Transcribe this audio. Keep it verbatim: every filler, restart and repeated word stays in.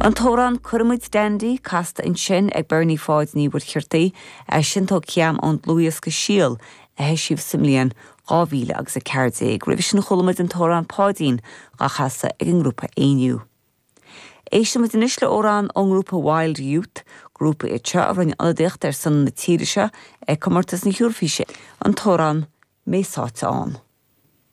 An t-amhrán Cuirfimid Dandy casta ansin ag Bernie Pháid Ní Mhuircheartaigh sin tógtha ón dlúthdhiosca Síol a eisíodh sa mbliain dhá mhíle agus a ceathair déag. Roimhe sin chuala muid an t-amhrán Páidín á chasadh ag an ngrúpa Éinniú. Éistfimid anois le amhrán ón ngrúpa Wild Youth, grúpa iad seo a rinne ionadaíocht ar son na tíre seo ag comórtas na hEoraifíse an t-amhrán Mé Sáite Ann.